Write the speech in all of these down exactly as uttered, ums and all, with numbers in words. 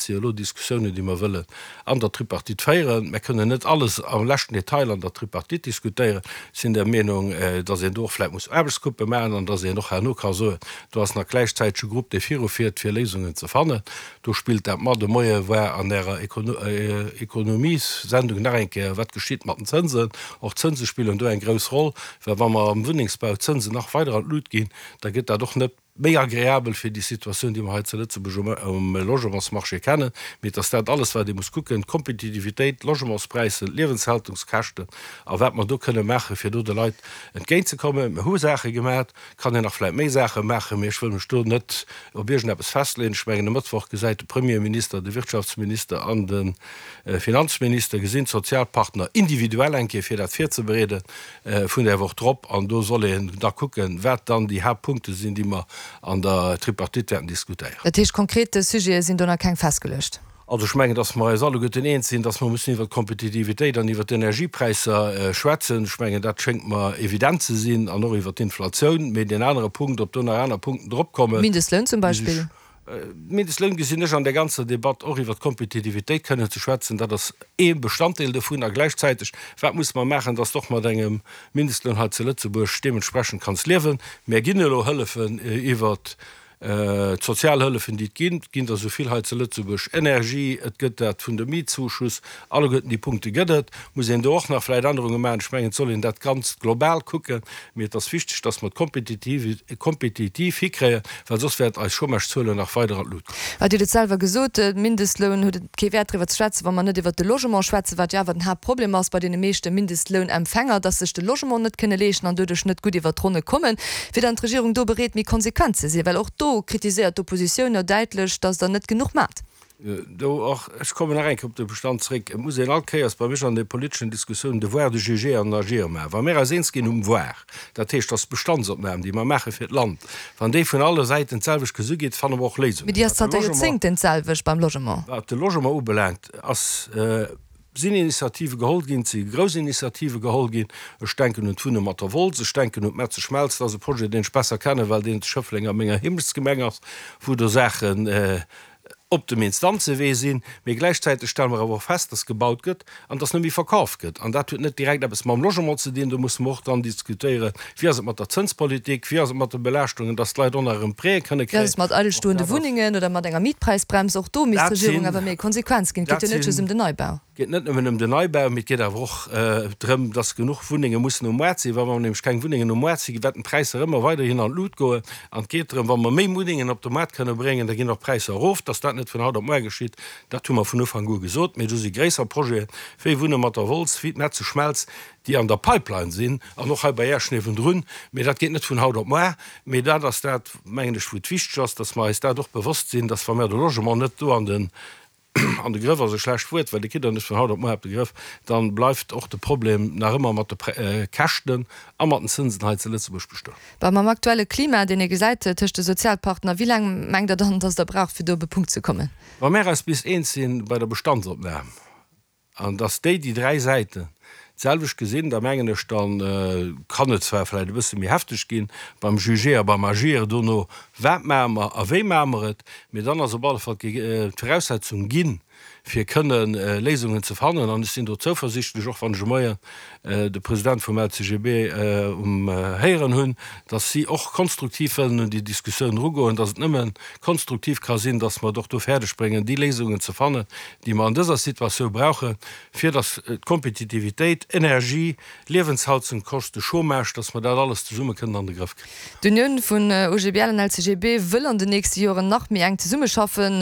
dat si jo elo Diskussiounen, déi mer wëllen an der Tripartite féieren. Mer kënnen net alles am leschten Detail an der Tripartite diskutéieren. Ech sinn der Meenung, dass een do och vläicht muss Aarbechtsgruppe maachen an dass een och herno ka soen, do ass nach gläichzäiteg e Grupp, dee virufiert, fir Léisungen ze fannen. Do spillt dat mat. De Moie war an Ärer Ekonomiessendung nach eng Kéier, wat geschitt mat den Zënsen. Och d'Zënse spillen do eng grouss Roll, well wa mer am Wunnengsbau d'Zënsen nach weider an d'Lut ginn, da gëtt dat och net méi agreabel fir déi Situatioun, déi mer hei zu Lëtzebuerg um Logementsmarché kennen. Mee et ass dat alles, wat ee muss kucken, d'Kompetitivitéit, d'Logementspräisser, d'Liewenshaltungskäschten a wat mer do kënne maachen, fir do de Leit entgéintzekommen. Mer hu Saache gemaach, et kann een nach vläicht méi Saache maachen, mee ech wëll mech do net op iergendeppes festleeën. Ech mengen, e Mëttwoch gesäit de Premierminister, de Wirtschaftsminister an de Finanzminister gesinn d'Sozialpartner individuell eng Kéier, fir dat virzebereede vun där Woch drop. An do soll een da kucken, wat dann déi Haaptpunkte sinn, déi mer an der Tripartite wäerten diskutéieren. Dat heescht, konkret Sujete sinn do nach keng festgeluecht? Also ech mengen, datt mer eis alleguerten eens sinn, datt mer mussen iwwert d'Kompetitivitéit an iwwert d'Energiepräisser schwätzen. Ech mengen, dat schéngt mer evident ze sinn, an och iwwert d'Inflatioun. Mee deen anere Punkt, ob do nach aner Punkten dropkommen. Mindestloun zum Beispill? Mindestloun gesinn ech an där ganzer Debatt och iwwert d'Kompetitivitéit kënnen ze schwätzen. Dat ass ee Bestanddeel dovun. A gläichzäiteg, wat musse mer maachen, datt s de och mat engem Mindestloun hei zu Lëtzebuerg deementsprechend kanns liewen. Mär ginn elo Hëllefen iwwert d'Sozialhëllefen, déi et ginn. Et ginn der esou vill hei zu Lëtzebuerg, Energie, et gëtt dat vun dem Mietzuschuss, alleguerten déi Punkte gëtt et. Muss een do och nach vläicht Ännerunge maachen? Ech mengen, et soll een dat Ganzt global kucken. Mee et ass wichteg, dass mer d'Kompetitiv hikréien, well soss wäerten eis Chômagezuelen nach weider an d'Lut goen. Dir hutt et selwer gesot, de Mindestloun huet et kee Wäert driwwer ze schwätzen, wa mer net iwwert de Logement schwätzen, wat jo awer den Haaptproblem ass bei deene meeschte Mindestlounempfänger, dass sech de Logement net kënne leeschten an doduerch net gutt iwwert d'Ronne kommen. Wier dann d'Regierung do bereet, méi konsequent ze sinn? Well och do kritiséiert d'Oppositioun jo däitlech, dass Der net genuch maacht. Do och, ech kommen nach eng Kéier op de Bestand zréck, et muss een all Kéiers bei mech an de politeschen Diskussiounen de Devoir de juger an d'agir maachen. Wa mir eis eens ginn um Voir, dat heescht, dass d'Bestandsopnam, déi mer maache fir d'Land, wann déi vun alle Säiten d'selwecht gesu gétt, fanne mer och Léisungen. Mee déi ass zanter Joerzéngten d'selwecht beim Logement. Wat de Logement ubelaangt, ass, sinn Initiative geholl ginn, et si grouss Initiative geholl ginn, ech denken un d'Wunne mat der Wolz, ech denken un d'Metzeschmelz, dat ass e Projet, deen ech besser kennen, well deen zu Schëffleng a menger Heemechtsgemeng ass, wou do Saachen op dem Instanzewee sinn. Mee gläichzäiteg stelle mer awer och fest, dass gebaut gëtt an dass net méi verkaf gëtt. An dat huet net direkt eppes mam Logement ze dinn. Do musse mer och dann diskutéieren, wéi ass et mat der Zënspolitik, wéi ass et mat de Belaaschtungen, dass d'Leit och nach erëm Prêtë kënne kréien. Wéi ass et mat eidelstoende Wunnengen oder mat enger Mietpreisbrems? Och do misst d'Regierung awer méi konsequent ginn. Et geet jo net just ëm den Neibau. Et geet net nëmmen ëm den Neibau, mee et geet awer och drëm, dass genuch Wunnenge mussen um Moart sinn. Wa mer nämlech keng Wunnengen um Moart sinn, wäerten d'Präisser ëmmer weiderhin an d'Lut goen. An et geet drëm, wa mer méi Wunnengen op de Moart kënne bréngen, da ginn och d'Präisser erof. Dass dat net vun haut op muer geschitt, dat hu mer vun Ufank u gesot. Mee do si gréisser Projeten, wéi Wunne mat der Wolz, wéi d'Metzeschmelz, déi an der Pipeline sinn an och hei bei Esch niewendrun. Mee dat geet net vun haut op muer. Mee dat ass dat, mengen ech, wou et wichteg ass, dass mer eis dat och bewosst sinn, dass, wa mer de Logement net do an den An de Grëff ass e schlecht Wuert, well dee kritt Der net vun haut op muer op de Grëff, dann bleift och de Problem nach ëmmer mat de Käschten a mat den Zënsen hei zu Lëtzebuerg bestoen. Bah, mam aktuelle Klima, deen ee gesäit tëscht de Sozialpartner, wéi laang mengt Der dann, datt Der braucht, fir do op e Punkt ze kommen? Wa mär eis bis eens sinn bei der Bestandsopnam an datt déi, déi dräi Säiten, d'selwecht gesinn, da mengen ech, da kann et zwar vläicht e bësse méi hefteg ginn beim Juger a beim Agir dono, wat maache mer a wéi maache mer et, mee dann ass op alle Fall d'Viraussetzung ginn, fir kënne Léisungen ze fannen. An ech sinn do zouversichtlech, och wann ech e Moien de President vum L C G B um héieren hunn, datt si och konstruktiv wëllen un déi Diskussioun erugoen, datt et nëmme konstruktiv ka sinn, datt mer et och do fäerdeg bréngen, déi Léisungen ze fannen, déi mer an dëser Situatioun brauchen, fir datt d'Kompetitivitéit, Energie, Liewenshaltungskosten, Chômage, datt mer dat alles zesumme kënnen an de Grëff kréien. D'Unioun vun U G B L an L C G B wëll an den nächste Joren nach méi enk zesummeschaffen.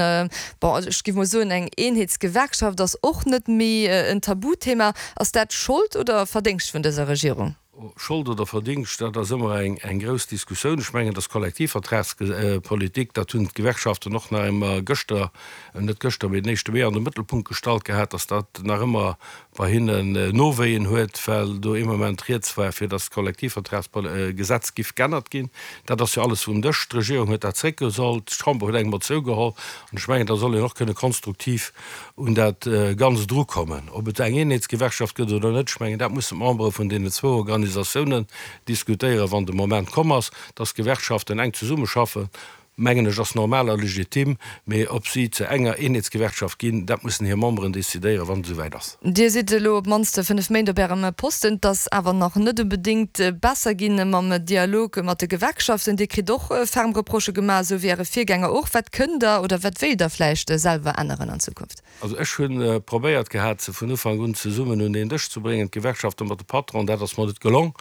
Bon, ech géif mol soen, eng Eenheetsgewerkschaft ass och net méi en Tabuthema. Ass dat Schold oder Verdéngscht vun dëser Regierung? Schold oder Verdingscht, dat ass ëmmer eng grouss Diskussioun. Ech mengen, dass Kollektivvertragspolitik, dat hunn d'Gewerkschaften och nach ëmmer gëschter, net gëschter, mee den éischte Mee an de Mëttelpunkt gestallt gehat, dass dat nach ëmmer bei hinnen Nowéien huet, well do ee Moment rieds war, fir dass d'Kollektivvertragsgesetz giff g'ännert ginn. Dat ass jo alles vum Dësch. D'Regierung huet dat zréckgeholl, d'Chamber huet eng Motioun geholl. An ech mengen, da soll een och kënne konstruktiv un dat Ganzt erukommen. Ob et eng Eenheetsgewerkschaft gëtt oder net, ech mengen, dat mussen d'Membere vun deenen zwou Organisatiounen diskutéieren, wann de Moment komm ass, dass d'Gewerkschaften enk zesummeschaffen. mengen ech, ass normal a legitim, mee ob si zu enger Eenheetsgewerkschaft ginn, dat mussen hir Memberen decidéieren, wann et esouwäit ass. Dir sidd elo op d'mannst fënnef Méint op Ärem Posten. Et ass awer nach net onbedéngt besser ginn mam Dialog mat de Gewerkschaften. Dir kritt och ferm Reprochë gemaach, esou wéi Äre Virgänger och. Wat kënnt Der oder wat wéilt Der vläicht selwer änneren an Zukunft? Also ech hu probéiert gehat, se vun Ufank un zesummen un een Dësch ze bréngen, d'Gewerkschafte mat de Patronen. Dat ass mer net gelong.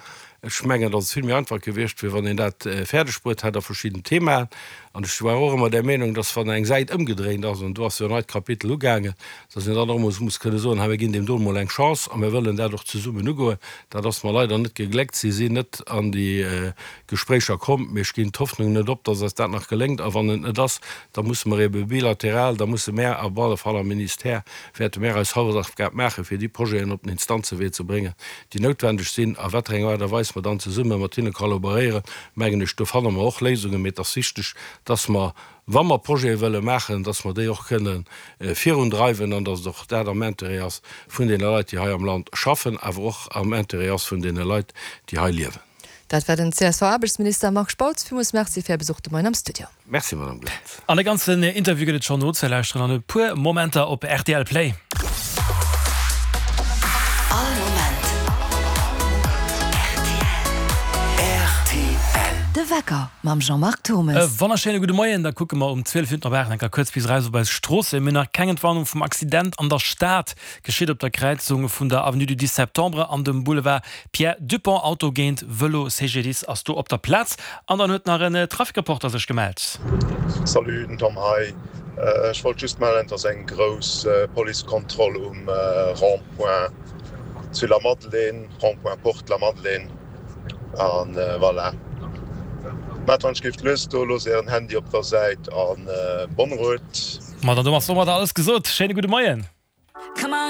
Ech mengen, datt et vill méi einfach gewiescht wier, wann een dat fäerdeg bruet hätt a verschidden Themaen. An ech war och ëmmer där Meenung, datt wann eng Säit ëmgedréint ass, an do ass jo en neit Kapitel ugaangen, datt een dann och emol muss kënne soen, hei mir ginn deem do emol eng Chance a mir wëllen dat och zesummen ugoen. Dat ass mer leider net gegléckt. Si sinn net an déi Gespréicher komm. Mee ech ginn d'Hoffnung net op, datt eis dat nach geléngt. A wann et net ass, da musse mer ebe bilateral, da musse mär op alle Fall am Ministère, wäerte mär eis Hausaufgab maachen, fir déi Projeten op den Instanzewee ze bréngen, déi noutwendeg sinn, a wat fir enger Aart a Weis mer dann zesumme mat hinne kollaboréieren, mengen ech, do fanne mer och Léisungen. Mee et ass wichteg, dass mer, wa mer Projete wëlle maachen, dass mer déi och kënne virundreiwen an dass et och dat am Intérêt ass vun deene Leit, déi hei am Land schaffen, awer och am Intérêt ass vun deene Leit, déi hei liewen. Dat war den CSV-Aarbechtsminister Marc Spautz. Villmools Merci fir Är Besuch de Moien am Studio. Merci, Madame Glantz. An de ganzen Interview gëtt et schonn nozelauschteren an e puer Momenter op rtl Play. All Moment rtl. De Wecker mam Jean-Marc Turmes. E wonnerschéine gudde Moien. Da kucke mer um zwielef Minutten op aacht enker kuerz bis eraus op eis Stroossen. Mir hunn nach keng Entwarnung vum Accident an der Stad. Geschitt op der Kräizung vun der Avenue du dix septembre an dem Boulevard Pierre Dupong. Auto géint Vëlo, CGDIS ass do op der Plaz. An dann huet nach en Trafikreporter sech gemellt. Salut, den Tom hei. Ech wollt just mellen, dass eng grouss Policekontroll um Rond-point zu Lamadelaine, Rond-point Porte Lamadelaine, an voilà. Maat wann ech géif lues do, loosst ären Handy op der Säit an bonne route. Ma dann domat ass domadder alles gesot. Schéine gudde Moien.